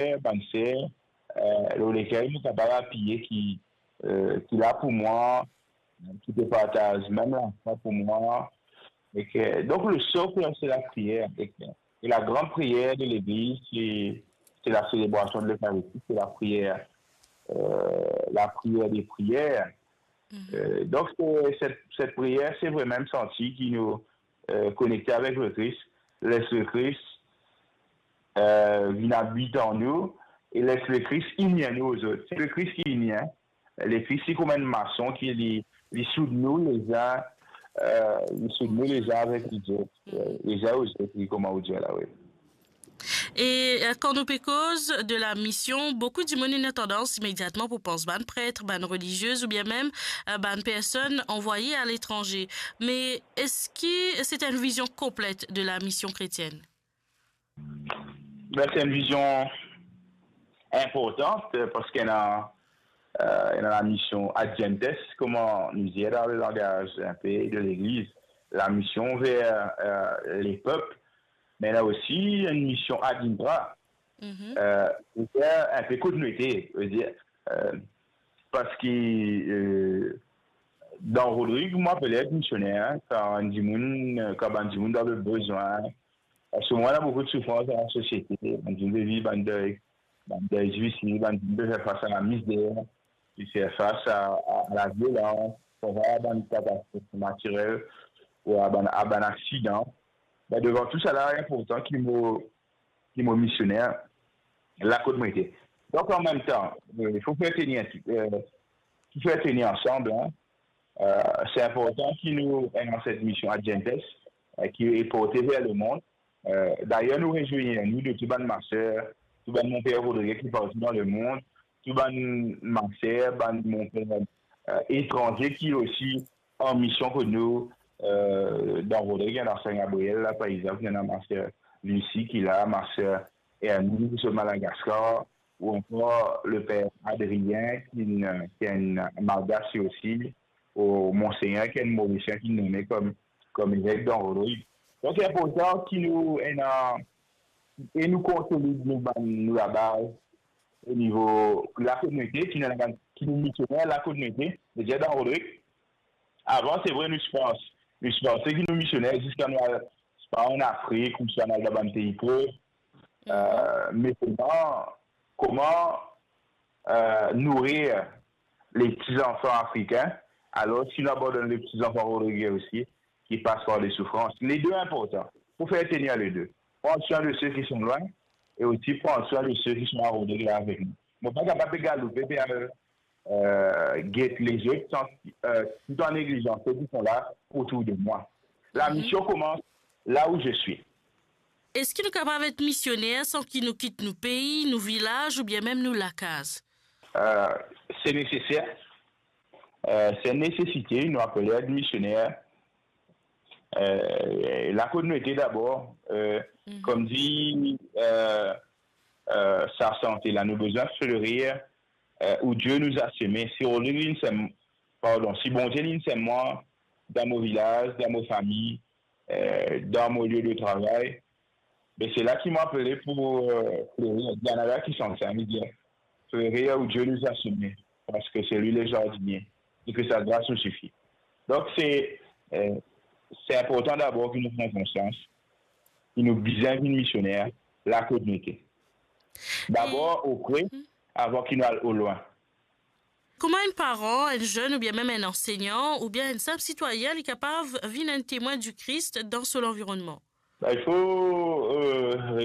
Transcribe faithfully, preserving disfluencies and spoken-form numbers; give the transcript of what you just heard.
frer, bann ser, euh, lor lekel mo kapav apiye, ki, euh, ki la pou mwa, ki pe partaz mem lafwa pou mwa. E ke, donk, le socle, c'est la prière. E ke, e la grande prière de l'Église, c'est, c'est la célébration de l'Eucharistie, c'est la prière, euh, la prière des prières. Euh, donk, se, set, set priyer, se vremem santi ki nou, euh, konekte avek Lekris, les Lekris, euh, vinn abit an nou, e les Lekris ini nou ozot. Se Lekris ki ini, hein. Lekris, se kouma enn mason ki li, li soud nou lezin, euh, li soud nou lezin avek lezot, euh, lezin ozot, wi, kouma ou dir la, wi. E, euh, kan nou pe koz de la mision, boukou dimoun ena tandans imediatman pou pans bann pret, bann reliziez oubien mem, euh, bann personn anvwaye aletranze. Me eski se enn vizion konplet de la mision kretienn? Ben, se enn vizion inportan, euh, parski ena, euh, ena la mision ad gentes, kouma nou dir dan le langaz inpe de legliz, la mision ver, euh, lepep, me ena osi enn mision ad intra. Mhm. Euh, vedir, inpe kot nou ete, vedir, euh, parski, euh, dan Rodrig, mo apele et misioner, kan dimoun, kan bann dimoun dan le bezwin, parski mwa, ena boukou de soufrans dan lasosiete, bann dimoun pe viv bann dey, bann dey difisil, bann dimoun pe fer fas a lamizer, pe fer fas a, a, a laviolans, parfwa a bann katastrof natirel ou a bann, a bann aksidan. Ben, devan tou sala, inportan ki mo, ki mo misioner la kot mo ete. Donk, an mem tan, euh, fok fer teni, euh, fok fer teni ansam, hein. Euh, se inportan ki nou ena set mision ad gentes, euh, ki e porte ver lemond. Euh, dayer, nou rezwir nou de tou bann maser, tou bann monper Rodrig ki partou dan lemond, tou bann maser, bann monper, euh, etranze ki osi an mision kot nou, euh, dan Rodrig, dan Saint Gabriel la, par exanp, ena maser Lucie ki la, maser Hermine ki sot Madagaskar, ou ankor le per Adrien, ki enn, ki enn Malgas li osi, ou Monsegner, ki enn Morisien, ki nome kom, kom evek dan Rodrig. Donk, inportan ki nou ena, e nou konsolid nou bann, nou labaz, o nivo lakominite, ki nou, ki nou misioner lakominite, vedir dan Rodrig. Avan, se vre, nou ti pans, nou ti panse ki nou misioner ziska nou al, swa an Afrik, ouswa nou al dan bann pei pov. Euh, me kouma, kouma, euh, nourir le pti zanfan afrikin, alor si nou abandonn le pti zanfan rodrigien osi, ki pas par de soufrans. Le de inportan. Fok fer tenir le de. Pran swin de se ki son lwin e osi pran swin de se ki son a Rodrig la avek nou. Mo pa kapav pe galoupe, pe al, euh, get lezot, san, euh, tout an neglizan se ki son la otour de mwa. La mision koumans la où je suis. Eski nou kapav et misioner san ki nou kit nou pei, nou vilaz oubien mem nou lakaz? Euh, se neseser. Euh, se enn nesesite, nou apele et misioner. Euh, lakominite dabor, euh, kom dir, euh, euh, sa sante la, nou bizin flerir, euh, où Dieu nous a semés. Si Rodrig linn sem, pardon, si Bondie linn sem mwa dan mo vilaz, dan mo fami, euh, dan mo lie de travay, be se la ki mo apele pou, euh, flerir. Dir, ena ki santi sa, li dir, flerir où Dieu nous a semés, parce que c'est lui le jardinier, et que sa grâce nous suffit. Donk, se, euh, se inportan dabor ki nou pran konsians ki nou bizin vinn misioner la kot nou ete. Dabor opre, avan ki nou al olwin. Kouma enn paran, enn zenn oubien mem enn ansegnan oubien enn sinp sitwayin, li kapav vinn enn temwin di Kris dan so lanvironnman? Ben, il faut, euh,